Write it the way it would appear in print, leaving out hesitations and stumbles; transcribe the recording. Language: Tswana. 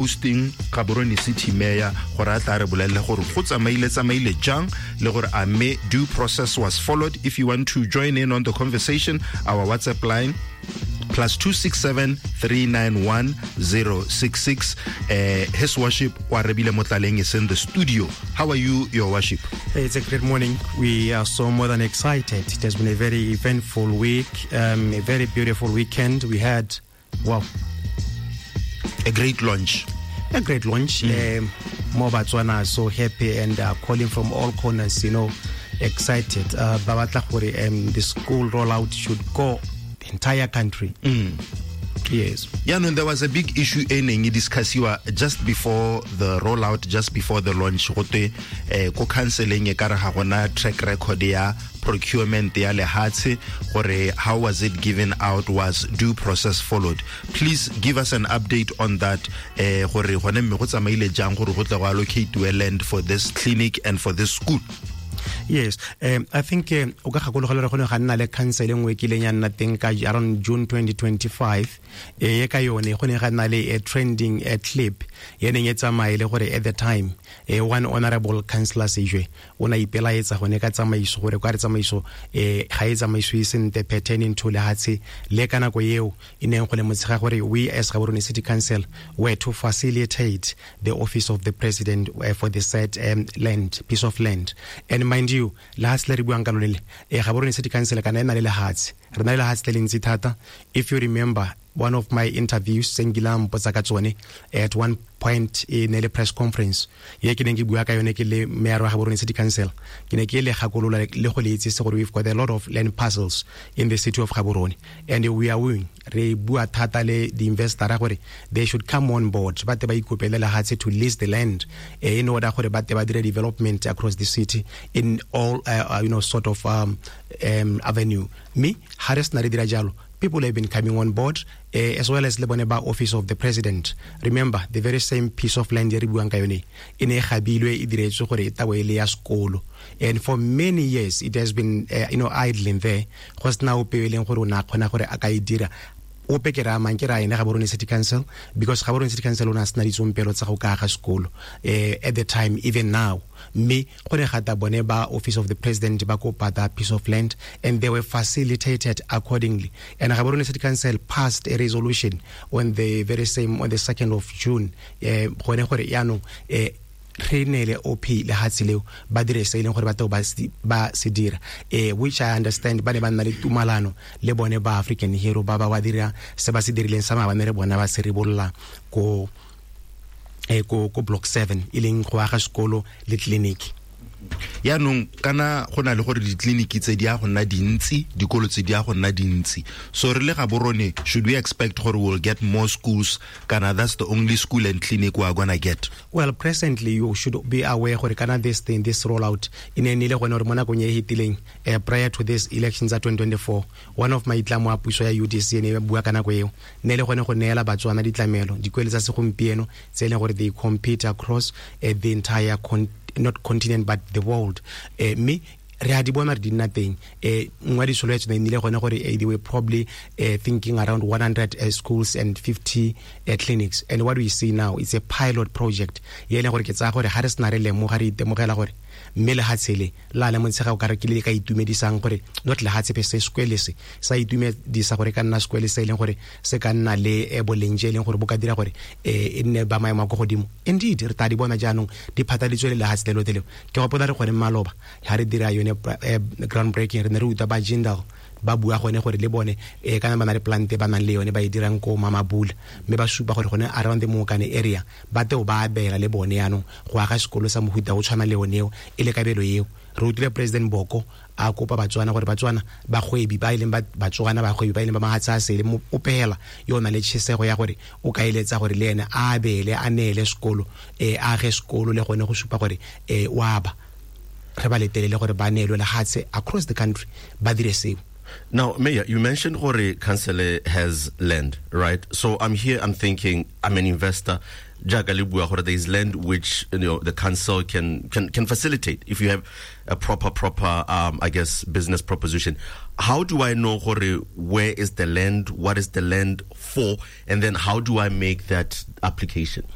Hosting Gaborone City Mayor gore a tla re bolelele gore go tsamaile tsamaile jang le gore a mme due process was followed. If you want to join in on the conversation, our WhatsApp line +267 391 066. His Worship Oarabile Motlaleng is in the studio. How are you, Your Worship? It's a great morning. We are so more than excited. It has been a very eventful week, a very beautiful weekend. We had, wow, a great launch. A great launch. More Batswana are so happy and are calling from all corners, excited. Ba batla gore, the school rollout should go the entire country. Yes. Yeah, no, there was a big issue e neng e discussiwa just before the rollout, just before the launch. Gote, ko counseling e ka re ga gona track record ya procurement ya lehatshe, gore how was it given out, was due process followed? Please give us an update on that, gore gone mme go tsamaile jang gore go tle go allocate land for this clinic and for this school. Yes, I think o ka gakologelwa gore go ne ga nna le council e nngwe e kileng ya nna teng ka around June 2025, e ka yone go ne ga nna le a trending a clip e neng e tsamaye le gore at the time, one honorable councillor Sejwe o ne a ipelaetsa gone ka tsamaiso gore kwa re tsamaiso, ga e tsamaisiwe sentle pertaining to lehatshe le ka nako eo e neng go le motshega gore we as Gaborone City Council were to facilitate the office of the president for the said land, piece of land. And mind you, lehatshe le re buang ka lone le, Gaborone City Council kana e na le lehatshe, re na le lehatshe le le ntsi thata. If you remember one of my interviews tse nkileng mpotsa ka tsone at one point e ne le press conference ye ke neng ke bua ka yone ke le mayor wa Gaborone City Council, ke ne ke le gakolola le go le itsise gore we've got a lot of land parcels in the city of Gaborone, and we are wooing, re bua thata le di investor gore they should come on board, ba te ba ikopele lehatshe to lease the land, in order gore ba te ba dire development across the city in all sort of avenue. Me ha re sena re dira jalo, people have been coming on board, as well as le bone ba office of the president. Remember, the very same piece of land e re buang ka yone e ne e gabilwe e diretswe gore e tabo e le ya sekolo, and for many years it has been idling there, go sena ope e leng gore o ne a kgona gore a ka e dira. Ope ke raya mang? Ke raya ene Gaborone City Council, because Gaborone City Council o ne a sena ditsompelo tsa go ka aga sekolo, at the time, even now. Mme go ne ga tla bone ba office of the president ba kopa that piece of land, and they were facilitated accordingly. And Gaborone City Council passed a resolution on the very same, on the 2nd of June, gone gore yaanong, re neele OP lehatshe leo ba dire se e leng gore ba tlo ba se dira, which I understand ba ne ba nna le tumalano le bone ba African Hero ba ba ba dira se ba se dirileng sa maabane re bona ba se ribolola ko block 7 e leng go aga sekolo le clinic. Yaanong kana go na le gore ditleliniki tse di a go nna dintsi, dikolo tse di a go nna dintsi, so re le Gaborone, should we expect gore we'll get more schools, kana that's the only school and clinic we are going to get? Well, presently you should be aware gore kana this thing, this rollout e ne e le gone gore mo nakong e e fetileng, prior to this elections tsa 2024, one of maitlamo a puso ya UDC e ne e bua ka nako eo ne e le gone go neela Batswana ditlamelo, dikwele tsa segompieno tse e leng gore they compete across the entire not continent but the world. Mme re a di bona re di nna teng. Nngwe ya ditsholofetso ne e nnile gone gore, they were probably thinking around 100 schools and 50 clinics. And what we see now is a pilot project ye e leng gore ke tsaya gore ga re sena re lemoga, re itemogela gore mme lehatshe le la le montshega o ka re ke le ka itumedisang gore not lehatshe pe se sekwele se sa itumedisa gore ka nna sekwele se e leng gore se ka nna le boleng je e leng gore bo ka dira gore e nne ba maemo a kwa godimo. Indeed re tla di bona jaanong di phatladitswe le lehatshe le lotlhe leo. Ke gopola re gone maloba ha re dira yone ground breaking, re ne re utlwa ba Jindal ba bua gone gore le bone kana ba na le plant ba nang le yone ba e dirang ko Mamabula, mme ba supa gore gone around the Mokane area ba teo ba abela le bone yaanong go aga sekolo sa mohuta o tshwana le yone eo e le kabelo eo. Re utlwile President Boko a kopa Batswana gore Batswana bagwebi ba e leng ba Batswana bagwebi ba e leng ba mahatshe a sele, mo opela yo o nang le tšhesego ya gore o ka eletsa gore le ene a abele, a neele sekolo, a age sekolo le gone go supa gore o aba. Re ba letelele gore ba neelwe lehatshe across the country ba dire seo. Now, Mayor, you mentioned gore council has land, right? So I'm here, I'm thinking, I'm an investor. Jaaka le bua gore there is land which the council can facilitate if you have a proper I guess business proposition. How do I know gore where is the land, what is the land for, and then how do I make that application?